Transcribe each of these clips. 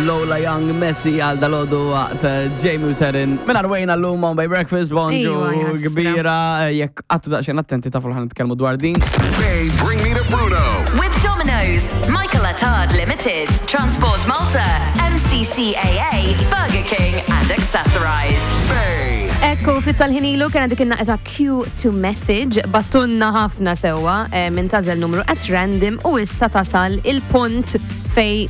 Lola Young Messi għal dalodu waqt eh, Jamie u Terin. Minn arwejna l-lum on by breakfast, bonġu Ejwa, jħassra. kbira. eh, Jekk għattu daqxen attenti tafu l-ħan nitkellmu dwar din. Bay, bring me to Bruno. With Domino's, Michael Attard Limited, Transport Malta, MCCAA, Burger King and Accessorize. Bay. Ekku, ftit tal-ħin ilu kena dik in-naqta Q to message, battunna ħafna sewwa eh, minn tażel numru at random u issa tasal il-punt fej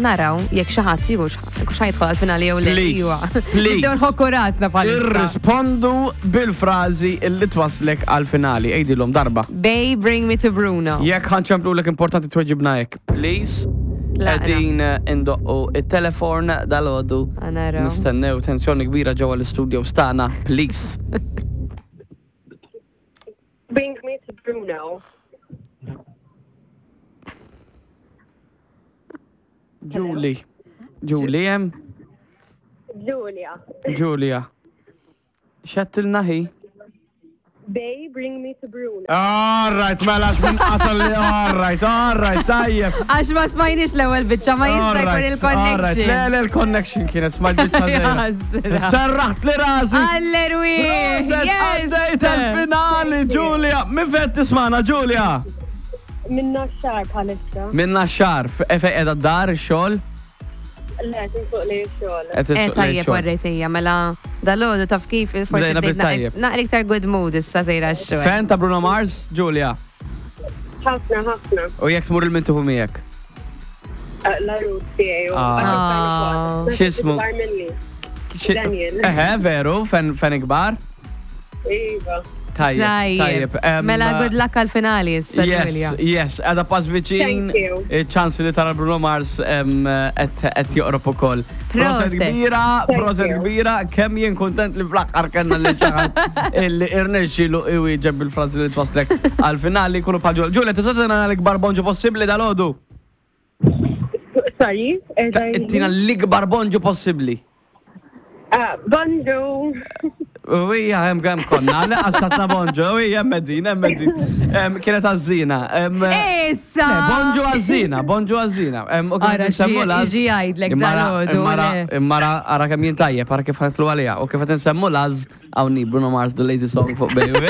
naraw jekk xi ħadd jieħu x'ħajdħol għall-finali jew le. Please, Iwa. please. Nibdew nħokku rasna bħalissa. Irrispondu bil-frażi illi twaslek għal-finali. Ejdilhom darba. Bay, bring me to Bruno. Jekk ħanċemplu l importanti tweġibna hekk, please. Tlaqna. Qegħdin eh, indoqqu it-telefon dal-għodu. Naraw. Nistennew tensjoni kbira ġewwa l-istudio stana, please. Bring me to Bruno. Julie. Julie hemm? Julia. Julia. Xettilna hi? Bay, bring me to Bruno. All right, mela minn qatal li all right, all right, tajjeb. Għax ma smajniex l-ewwel biċċa ma jista' jkun il-connection. Le, le, l-connection kienet smajt biċċa żgħira. Jasra. Serraħt li rasi. Allerwi! Proset, Għaddejt il-finali, Julia. Min fejn tismana, Julia? Minna xar bħalissa. Minna xar, fejn qiegħda d-dar, ix-xogħol? Le, tinsuq li xogħol. Qed Eh issuq lejn tajjeb xogħol. warrejtija, mela dal-għodu taf kif forsi Bdejna bdejt bit-tajjeb. naqra iktar good mood issa sejra x-xogħol. Fan ta' Bruno Mars, Julia. Ħafna, ħafna. U jekk tmur il-mintuħu miegħek. Eh, La rut tiegħi. Ah. X'ismu? Ikbar minni. Xi- Daniel. Eħe, veru, fan fan ikbar. Iva. Tajjeb. Tajjeb. Em, Mela good luck għal-finali issa, Yes, Julia. yes, għada pass viċin. Thank you. Il-ċans li tara Bruno Mars em, qed qed joqrob ukoll. Proset Proset. kbira, Thank proset you. kbira, kemm jien kontent li fl-aħħar kellna li xi ħadd illi irnexxielu iwieġeb bil-frażi li twaslek għal-finali jkunu bħal Julia. Julia, tista' tagħtina l-ikbar bonġu possibbli dal-għodu? Sorry? Ittina l-ikbar bonġu possibbli. Ah, Bonġu. Ija, hemm kemm konna, għasatna bonġu, ija, hemm din, hemm din. Em, Kienet għażina. em, Issa! Le, Bonġu għażina, bonġu għażina. Em, u kif Ara, qed insemmu xi- l-għaż- jiġi jgħidlek Immara- dal-għodu, immara- le. Immara, ara kemm jien tajjeb, ara kif ħanitlu għalija. U kif qed insemmu l-għaż, hawnni Bruno Mars, The Lazy Song fuq Baby.